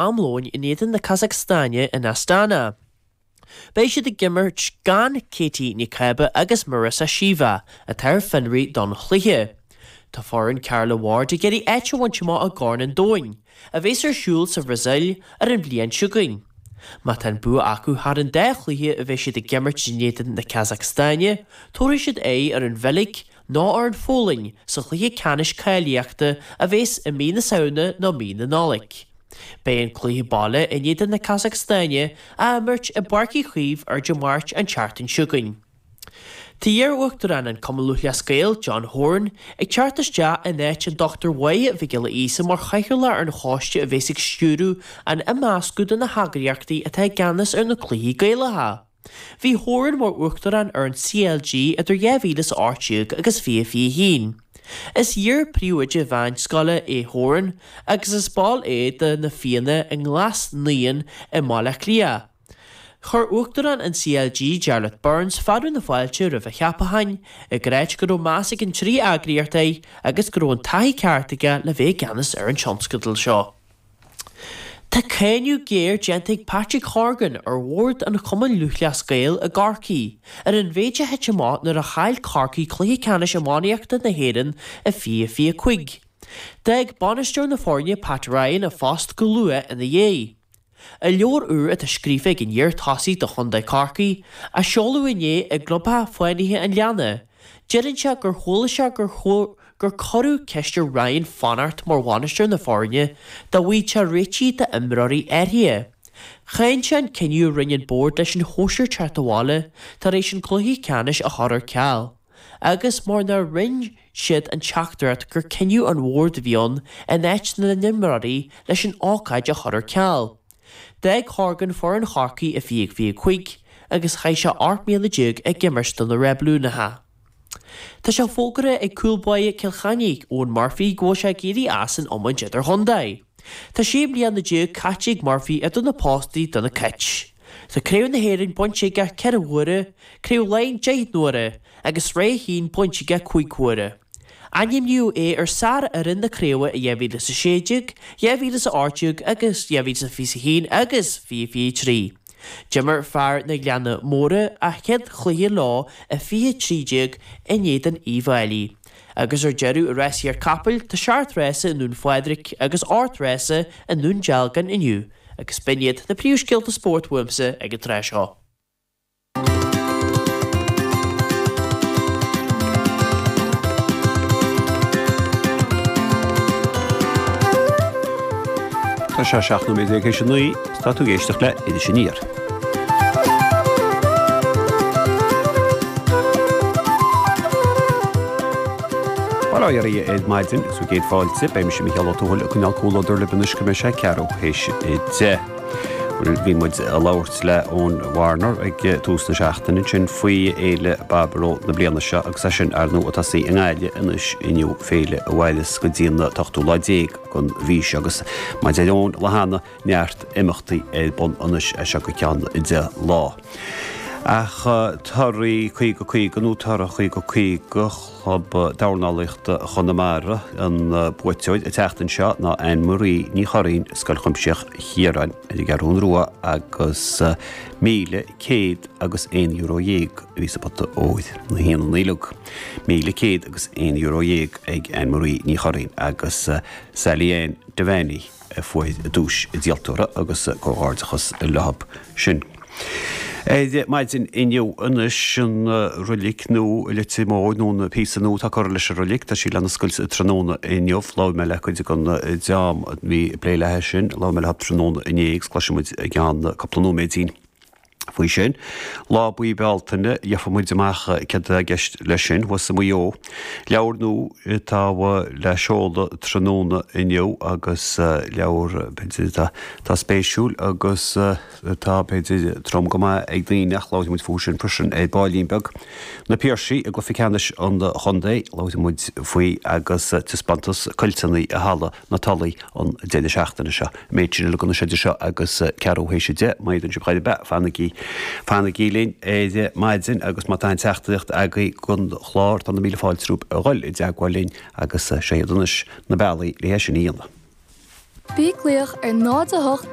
Am lóin in éadan na Casacstáine in Astana. Beidh siad ag imirt gan Katie Nic Cába agus Marissa Sheva, atá ar fionraí don chluiche. Tá foireann Carla Ward ag iarraidh áit a bhaint amach i gCorn an Domhain, a bheas ar siúl sa Bhrasaíl ar an bhliain seo chugainn. Má tá an bua acu thar an dá chluiche a bheidh siad ag imirt in éadan na Casacstáine, tabharfaidh siad aghaidh ar an Bheilg nó ar an Pholainn sa chluiche ceannais cáilíochta a bheas i mí na Samhna nó mí na Nollag. Beidh an cluiche baile in éadan na Casacstáine á imirt i bPáirc Uí Chaoimh ar Dé Máirt an tseachtain seo chugainn. Tá iar-uachtarán an Cumann Lúthchleas Gael, John Horan, ag teacht isteach in áit an Dr Mháire Mhic Giolla Íosa mar chathaoirleach ar an choiste a bheas ag stiúradh an imeascadh de na heagraíochtaí atá i gceannas ar na cluichí Gaelacha. Bhí Horan mar Uachtarán ar an CLG idir 2018 agus 2021. Is iar-phríomhoide mheánscoile é Horan agus is ball é de Na Fianna i nGlas Naíon i mBaile Átha Cliath. Chuir Uachtarán an CLG, Jarlath Burns, fearadh na fáilte roimh a cheapachán, ag ráit go raibh meas ag an dtrí eagraíocht air agus go raibh an taithí ceart aige le bheith i gceannas ar an tionscadal seo. Tá cáineadh géar déanta ag Patrick Horgan ar bhord an Chumainn Lúthchleas Gael i gCorcaigh ar an mhéid a thit amach nuair a chaill Corcaigh cluiche ceannais iománaíochta na hÉireann i 2025. D'fhág bainisteoir na foirne Pat Ryan a phost go luath ina dhiaidh. I leabhar úr atá scríofa ag an iar-tosaí do chontae Chorcaí, a seoladh inné i gClubtheach Fánaithe an Leanna, deireann sé gur chuala sé gur gur cuireadh ceist ar Ryan fanacht mar bhainisteoir na foirne dá bhfaigheadh sé réitigh d'imreoirí áirithe. Cháin sé an cinneadh a rinne an bord leis an chóisir teacht abhaile tar éis an cluiche ceannais a chur ar ceal, agus mar nár roinn siad an teachtaireacht gur cinneadh an bhoird a bhí ann in áit na n-imreoirí leis an ócáid a chur ar ceal. D'fhág Horgan foireann Chorcaí i 2025 agus chaith sé 18 mbliana ag imirt do na Reibiliúnaithe. Tá sé fógartha ag cúl báire Chill Chainnigh, Eoin Murphy, go bhfuil sé ag éirí as an iomáint idirchontae. Tá 16 mbliana caite ag Murphy idir na postaí do na Cait. Tá Craobh na hÉireann bainte aige 4 huaire, Craobh Laighean 10 n-uaire agus Sraith 1 bainte aige 5 huaire. Ainmníodh é ar sár-fhoireann na craoibhe i 2016, 2018 agus 2021 agus 2023. D'imir fear na Gleanna Móire a chéad chluiche leo i 2013 in éadan Uíbh Fhailí. Agus ar deireadh i rásaíocht capaill, tá seacht rása i nDún Phádraig agus ocht rása i nDún Dealgan inniu agus b'in iad na príomhscéalta spóirt uaimse ag an tráth seo. Tá sé 17 nóiméad théis a 9, tá tú ag éisteacht le Iris Aniar. Bail ó Dhia oraibh ar maidin agus bhur gcéad fáilte, beidh mise Mícheál Ó Tuathail ag coinneáil comhluadar libh anois go mbeidh sé ceathrú théis 10. Bhí muid ag labhairt le Eoin Warner ag tús na seachtaine ansin faoi Fhéile Baboró na bliana seo agus é sin ar ndóigh ag tosaí i nGaillimh anois inniu, féile a mhairfeas go dtí an t-ochtú lá déag den mhí seo agus mar a deir Eoin lá cheana, neart imeachtaí ar bun anois as seo go ceann 10 lá. Ach torthaí 50 50 nó toradh 50 50 Chlub Dornálaíochta Chonamara, an buaiteoir an tseachtain seo ná Anne Marie Ní Churraoin, Scoil Chuimsitheach Chiaráin ar an gCeathrún Rua agus €1,100 agus €1 a bhí sa bpota óir, na hionanna uilig. €1,100 agus €11 ag Anne Marie Ní Churraoin agus Sally Ann Devaney. a fuair duais an díoltóra agus comhghairdeachas leo sin. Ar maidin inniu anois an roilig nua i Leitir Móir nó an píosa nua atá curtha leis an roilig, tá sí lena oscailt tráthnóna inniu. Labhair mé le cuid den dream a bhí ag plé léi sin, labhair mé leo tráthnóna inné agus cloisfidh muid i gceann cúpla nóiméidín. faoi sin. Lá Buí Bealtaine, gheobhaidh muid amach céard atá i gceist leis sin thuas i Maigh Eo. Leabhar nua atá le seoladh tráthnóna inniu agus leabhar, b'fhéidir, atá spéisiúil agus atá, b'fhéidir, trom go maith ag daoine ach labharfaidh muid fúthu sin freisin ar baillín beag. Na Piarsaigh i gcluiche ceannais an chontae, labharfaidh muid faoi agus taispeántas cuilteanna i Halla na Tulaí an deireadh seachtaine seo. An méid sin uilig anois idir seo agus ceathrú théis 10, má éiríonn sibh chor ar bith, fanaigí, fanaigí linn ar maidin agus má tá aon teachtaireacht agaibh don chlár, tá na míle fáilte romhaibh a dhul i dteagmháil linn agus seo iad anois na bealaí le é sin a dhéanamh. Bí ag glaoch ar 0 8.